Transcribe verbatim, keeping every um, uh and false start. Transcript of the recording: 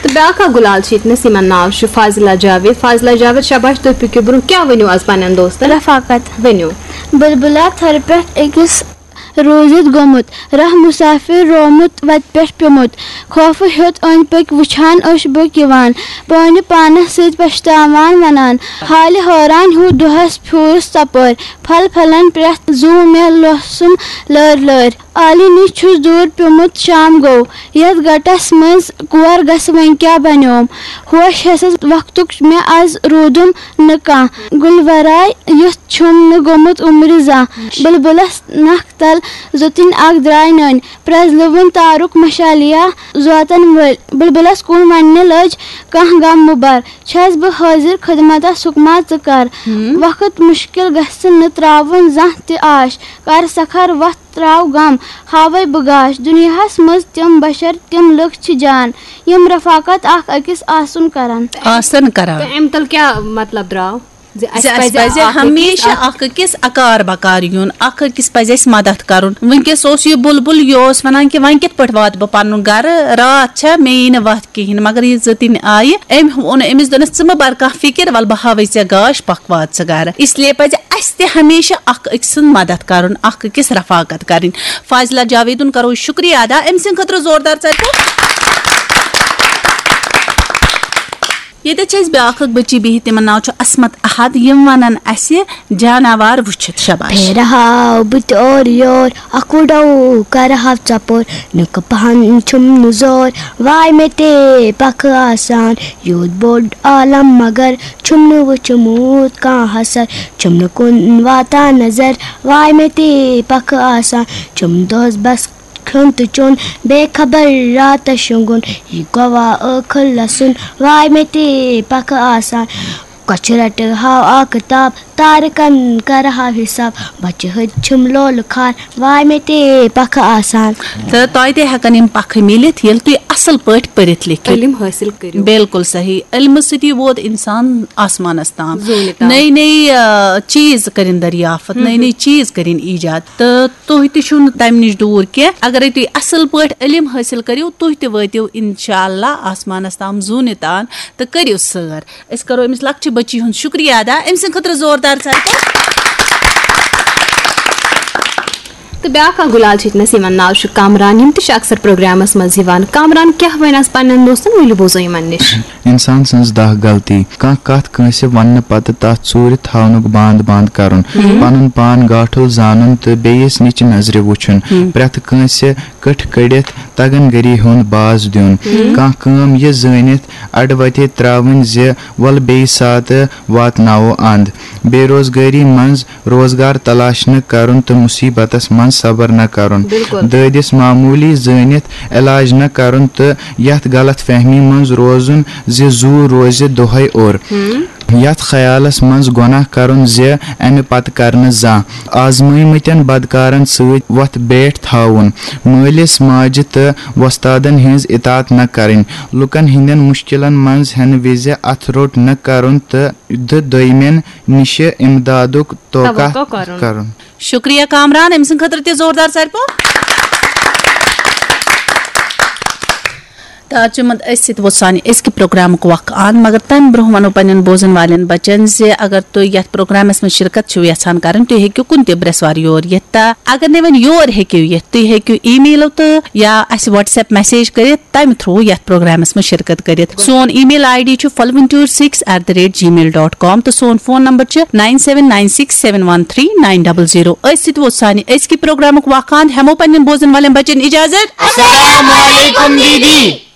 تہٕ بیٛاکھ اکھ گُلال چھِ ییٚتنَس، یِمن ناو چھُ فاضلہ جاوید۔ فاضلہ جاوید، شاباش، تُہۍ پٔکِو برٛونٛہہ۔ کیٛاہ ؤنِو آز پننٮ۪ن دوستن؟ رفاقت۔ ؤنِو۔ بلبلہ تھرِ پٮ۪ٹھ أکِس روٗزِتھ گوٚمُت، راہ مُسافِر رومُت وَتہِ پٮ۪ٹھ پیوٚمُت۔ خوفہٕ ہیوٚت أنٛدۍ پٔکۍ وٕچھان، اوٚش بوٚک یِوان، پانہِ پانس سۭتۍ پشتاوان ونان، حالہِ حٲران ہیوٗ دۄہس پھیوٗرُس ژۄپٲرۍ۔ پھل پھلن پرٛٮ۪تھ زُو مےٚ لوسُم لٲرۍ لٲرۍ۔ عالی نِش چھُس دوٗر پیوٚمُت، شام گوٚو۔ یَتھ گٹس منٛز کور گژھٕ وۄنۍ کیٛاہ بنیوم؟ ہوش ہٮ۪سس وقتُک مےٚ از روٗدُم نہٕ کانٛہہ۔ گُلہِ ورٲے یُتھ چھُم نہٕ گوٚمُت عُمرِ زانٛہہ۔ بلبلس نکھ تل زوٚتٕنۍ اکھ درٛاے نٔنۍ۔ پرٛزلوُن تارُک مشالیا زوتن وٲلۍ۔ بلبلس کُن وننہِ لٔج کانٛہہ غم مُبر۔ چھَس بہٕ حٲضِر خدمتس، حُکما ژٕ کر۔ وقت مُشکِل گژھِ نہٕ ترٛاوُن زانٛہہ تہِ آش۔ کر سکھر وتھ ترٛاو غم، ہاوَے بہٕ گاش۔ دُنیاہس منٛز تِم بشر، تِم لُکھ چھِ جان، یِم رفاقت اکھ أکِس آسُن کرن۔ آسن کران۔ تہٕ اَمہِ تل کیٛاہ مطلب درٛاو؟ زِ زِ اَسہِ اَسہِ پَزِ پَزِ اکھ أکِس ہمیشہِ اکھ اکھ أکِس اکار بکار یُن، اکھ أکِس پَزِ اَسہِ مدد کرُن۔ وٕنکیٚس اوس یہِ بُلبُل، یہِ اوس وَنان کہِ وۄنۍ کِتھ پٲٹھۍ واتہٕ بہٕ پَنُن گرٕ؟ راتھ چھےٚ، مےٚ یی نہٕ وَتھ کِہیٖنۍ۔ مگر یہِ زٕ تِنۍ آیہِ، أمۍ ووٚن أمِس، دوٚپنَس، "ژٕ مہٕ بَر کانٛہہ فِکِر، وَلہٕ بہٕ ہاوَے ژےٚ گاش، پَکھ وات ژٕ گرٕ۔" اس لیے پَزِ اَسہِ تہِ ہمیشہِ اکھ أکۍ سٕنٛز مدد کرُن، اکھ أکِس رفاقت کرٕنۍ۔ فاضلہ جاویدُن کرو شُکریہ ادا، أمۍ سٕنٛدِ خٲطرٕ زوردار ژَرِ پوٚپ۔ ییٚتٮ۪تھ چھِ اَسہِ بیٛاکھ اکھ بٔچی بِہِتھ، تِمن ناو چھُ عصمت احد۔ یِم وَنَن اَسہِ جاناوار وٕچھِتھ۔ شاباش۔ پھیرٕ ہاو بہٕ تہِ اورٕ یور، اکھ وُڈو کرٕ ہاو ژۄپور، نُکہٕ پہن چھُم نہٕ زور، واے مےٚ تہِ پکھٕ آسان، یوٗت بوٚڑ عالم مگر چھُم نہٕ وٕچھمُت کانٛہہ حسر، چھُم نہٕ کُن واتان نظر، واے مےٚ تہِ پکھٕ آسان، چھُم دۄہس بس کھیوٚن تہٕ چیوٚن، بے خبر راتس شۄنٛگُن، یہِ گوٚوا ٲخٕر لسُن، واے مےٚ تہِ پکھٕ آسان۔ کۄچھِ رٹہٕ ہاو آ کِتاب، تارکن کرٕ ہاو حساب، بچہِ ہٕتۍ چھِم لولہٕ خار، واے مےٚ تہِ پکھٕ آسان۔ تہٕ تۄہہِ تہِ ہٮ۪کن یِم پکھٕ مِلِتھ، ییٚلہِ تُہۍ اصل پٲٹھۍ پٔرِتھ لیکھِتھ۔ علم حٲصِل کٔرِو۔ بالکل صحیح۔ علمہٕ سۭتی ووت انسان آسمانس تام۔ زوٗنہِ تام۔ نٔے نٔے، آ، چیٖز کٔرِن دریافت، نٔے نٔے چیٖز کٔرِن ایجاد۔ تہٕ تُہۍ تہِ چھِو نہٕ تَمہِ نِش دوٗر کینٛہہ۔ اگرے تُہۍ اَصٕل پٲٹھۍ علم حٲصِل کٔرِو، تُہۍ تہِ وٲتِو اِنشاء اللہ آسمانَس تام زوٗنہِ تان تہٕ کٔرِو سٲر۔ أسۍ کَرو أمِس لۄکچہِ بٔچی ہُنٛد شُکریہ ادا، أمۍ سٕنٛدِ خٲطرٕ زوردار ژَرِ پوٚپ۔ تہٕ بیٛاکھ اکھ گُلال چھِ ییٚتنَس، یِمَن ناو چھُ کامران، یِم تہِ چھِ اکثر پروگرامَس منٛز یِوان۔ کامران کیٛاہ وَنہِ آز پنٛنٮ۪ن دوستَن، ؤلِو بوزو یِمَن نِش۔ انسان سٕنٛز دَہ غلطی۔ کانٛہہ کتھ کٲنٛسہِ وننہٕ پتہٕ تتھ ژوٗرِ تھاونُک باند باند کرُن۔ پنُن پان گاٹھُل زانُن تہٕ بیٚیِس نِچہِ نظرِ وُچھُن۔ پرٛٮ۪تھ کٲنٛسہِ کٔٹھۍ کٔڑِتھ تگن گری ہُنٛد باز دیُن۔ کانٛہہ کٲم یہِ زٲنِتھ اڈٕ وتے ترٛاوٕنۍ زِ وَلہٕ بیٚیہِ ساتہٕ واتناوو اند۔ بے روزگٲری منٛز روزگار تلاش نہٕ کرُن تہٕ مُصیبتس منٛز صبر نہٕ کرُن۔ دٲدِس معموٗلی زٲنِتھ علاج نہٕ کرُن تہٕ یتھ غلط فہمی منٛز روزُن زِ زُو روزِ دۄہے اوٚر۔ یتھ خیالس منٛز گۄناہ کرُن زِ امہِ پتہٕ کرنہٕ زانٛہہ۔ آزمٲومٕتٮ۪ن بدکارن سۭتۍ وۄتھ بیٹھ تھاوُن۔ مٲلِس ماجہِ تہٕ وۄستادن ہٕنٛز اطاعت نہٕ کرٕنۍ۔ لوٗکن ہٕنٛدٮ۪ن مُشکِلن منٛز ہٮ۪نہٕ وِزِ اتھٕ روٚٹ نہٕ کرُن تہٕ دٔ دوٚیمٮ۪ن نِشہِ امدادُک توقع توقع کرُن۔ کرُن۔ شُکریہ کامران، أمۍ سٕنٛدِ خٲطرٕ تہِ زوردار ژَرِ پوٚپ۔ تہٕ آز چھُ یِمن أتھۍ سۭتۍ ووت سانہِ أزکہِ پروگرامُک وق اند، مگر تَمہِ برٛونٛہہ وَنو پننٮ۪ن بوزن والٮ۪ن بچن زِ اگر تُہۍ یتھ پروگرامس منٛز شرکت چھِو یژھان کرٕنۍ، تُہۍ ہیٚکِو کُنہِ تہِ برٛٮ۪سوار یور یِتھ۔ تہٕ اگر نہٕ وۄنۍ یور ہیٚکِو یِتھ، تُہۍ ہیٚکِو email تہٕ یا اَسہِ WhatsApp message کٔرِتھ، تَمہِ through یَتھ پروگرامَس منٛز شرکت کٔرِتھ۔ سون email ID چھُ فلونٹیور six eight the rate gmail dot com تہٕ سون فون نمبر چھُ nine seven nine six seven one three nine double zero۔ أتھۍ سۭتۍ ووت سانہِ أزکہِ پروگرامُک وق اند۔ ہٮ۪مو پننٮ۪ن بوزن والٮ۪ن بچن اجازت۔ السلام علیکم دیدی۔